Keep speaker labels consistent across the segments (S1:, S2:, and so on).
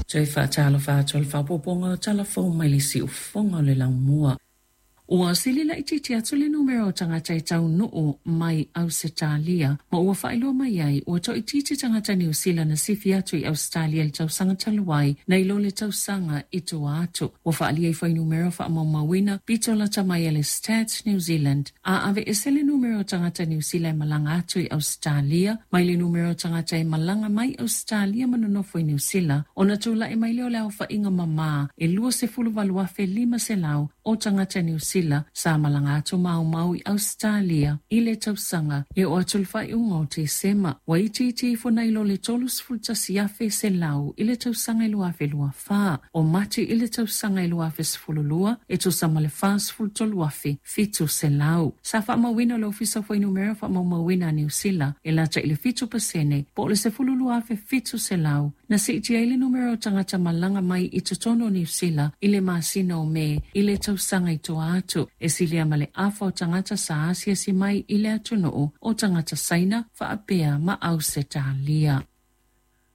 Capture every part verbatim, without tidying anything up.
S1: Toe faatalofa atu i le faaopoopoga o tala fou mai le siufofoga o le laumua. Ua sili laitiiti atu le numera o tagata e taunuu mai Ausetalia ma ua faailoa mai ai ua toaitiiti tagata Niu Sila na sifi atu i Ausetalia i le tausaga talu ai nai lo le tausaga i tua atu. Ua faaalia i fuainumera faamaumauina pito lata mai a le Stats New Zealand a aveese le numera o tagata Niu Sila e malaga atu i Ausetalia mai le numera o tagata e malaga mai Ausetalia ma nonofo i Niu Sila ona tulai mai lea o le aofaiga mamā e luasefulu valu afe lima selau o tagata Niu Sila sa malaga atu ma aumau i Ausetalia i le tausaga e oo atu i le faaiuga o Tesema. Ua itiiti ifo nai lo le tolusefulu tasi afe selau i le tausaga e lua afe lua fa. O Mati i le tausaga e lua afe sefulu lua e tusa ma le fasefulu tolu afe fitu selau. Sa faamauina e le Ofisa o Fuainumera Faamaumauina a Niu Sila e lata i le fitu pasene po o le sefulu lua afe fitu selau na siitia ai le numera o tagata malaga mai i totonu o Niu Sila i le masina o Me i le tausaga i tua atu e silia ma le afa o tagata sa asiasi mai i le atunuu o tagata Saina faapea ma Ausetalia.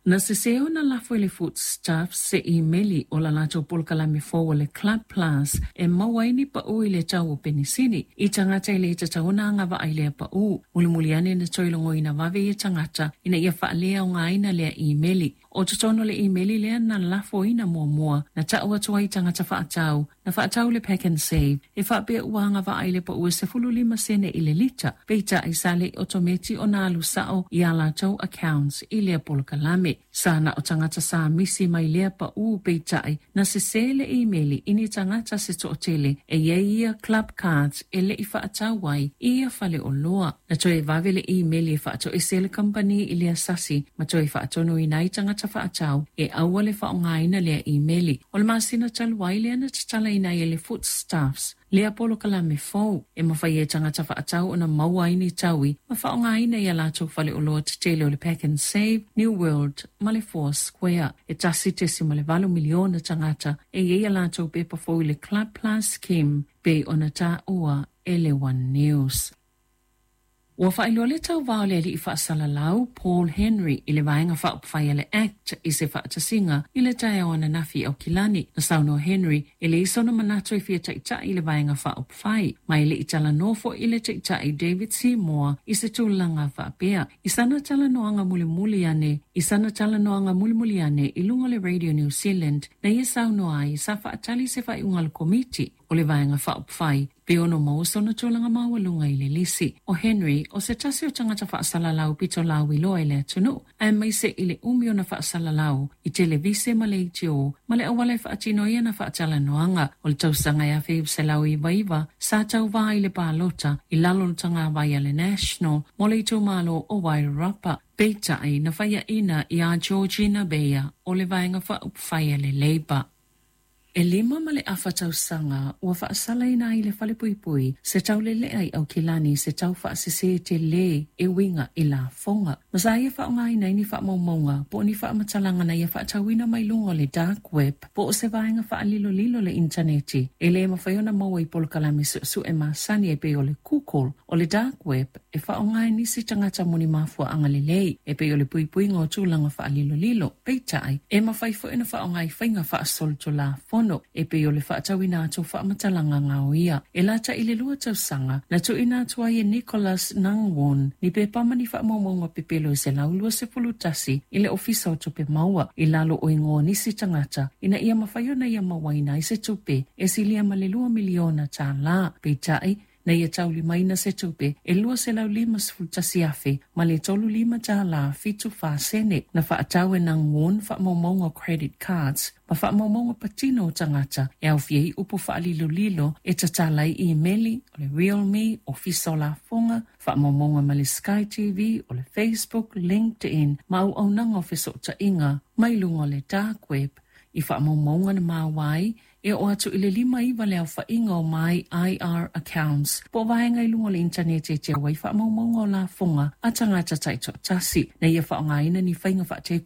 S1: Na sese ona lafo e le Foodstuffs se imeli o la latou polokalame fou o le Club Plus e maua ai ni pau i le tau o penisini i tagata e le tatau ona agavaa i lea pau. Mulimuli ane na toe logoina vave ia tagata ina ia faaleaogaina lea imeli. O totonu o le imeli lea na lafoina muamua na tau atu ai i tagata faatau na faatau le Pack and Save e faapea ua agavaa i le pau e sefulu lima sene i le lita, peitai sa le i otometi ona alu sao i a latou accounts i lea polokalame. Sa na o tagata sa misi mai lea pau peitai na sese le imeli i ni tagata se toatele e i ai ia club cards e le i faatau ai i ia faleoloa. Na toe vave le imeli e faatoese ai le kamupani i lea sasi ma toe faatonuina ai tagata faatau e aua le faaaogaina lea imeli. O le masina talu ai lea na tatalaina ai e le Foodstuffs lea polokalame fou e mafai ai e tagata faatau ona maua ai ni taui ma faaaogaina i a latou faleoloa tetele o le Pack and Save, New World ma le Four Square. E tasi tesima le valu miliona tagata e i ai a latou pepa fou i le Club Plus Scheme pei ona taua e le One News. Ua faailoa le tauva o le alii faasalalau Paul Henry i le Vaega Faaupufai a le act i se faatasiga i le taeao ananafi i Aukilani. Na saunoa Henry e leai sona manatu e fia taitai i le Vaega Faaupufai, ma e le i talanoa foi i le Taitai David Seymour i se tulaga faapea. I sana talanoaga mulimuli ane i sana talanoaga mulimuli ane i luga o le Radio New Zealand na ia saunoa ai sa faatali se faaiuga a le Komiti o le Vaega Faaupufai pe ono maua sona tulaga maualuga i le lisi. O Henry, o se tasi o tagata faasalalau pito lauiloa i le atunuu, aemaise i le umi ona faasalalau i televise ma leitio ma le auala e faatino ai ana faatalanoaga. O le tausaga e afe iva selau iva iva, sa tauva ai i le palota i lalo o le tagavai a le National mo le itumalo o Wairarapa. Peitai, na faiaina iā Georgina Beyer o le Vaega Faaupufai a le Labour. E lima ma le afa tausaga ua faasalaina ai le falepuipui se taulelea i Aukilani i se tau faasese telē e uiga i lafoga. Ma sa ia faaaogaina ai ni faamaumauga po o ni faamatalaga na ia faatauina mai luga o le dark web po o se vaega faalilolilo o le initaneti e le mafai ona maua i polokalame suesue masani e pei o le Google. O le dark web e faaaoga e nisi tagata mo ni mafuaaga lelei e pei o le puipuiga o tulaga faalilolilo. Peitai, e mafai foi ona faaaoga i faiga faasolitulafono e pei o le faatauina atu o faamatalaga gaoia. E lata i le lua tausaga na tuuina atu ai e Nicholas Nangwon ni pepa ma ni faamaumauga pepelo e selau luasefulu tasi i le Ofisa o Tupe Maua i lalo o igoa o nisi tagata ina ia mafai ona ia mauaina ai se tupe e silia ma le lua miliona tālā. Peitai, na ia taulimaina se tupe e lua selau lima sefulu tasi afe ma le tolu lima tālā fitu fa sene. Na faatau e Nangwon faamaumauga o credit cards ma faamaumauga patino o tagata e aofia ai upu faalilolilo e tatala ai imeli, o le RealMe, Ofisa o Lafoga, faamaumauga ma le Sky T V, o le Facebook, LinkedIn ma auaunaga o fesootaiga mai luga o le dark web. I faamaumauga na maua ai e oo atu i le lima iva le aofaiga o My I R Accounts po o vaega i luga o le initaneti e teu ai faamaumauga o lafoga a tagata taitoatasi na ia faaaogaina ni faiga faatekonolosi.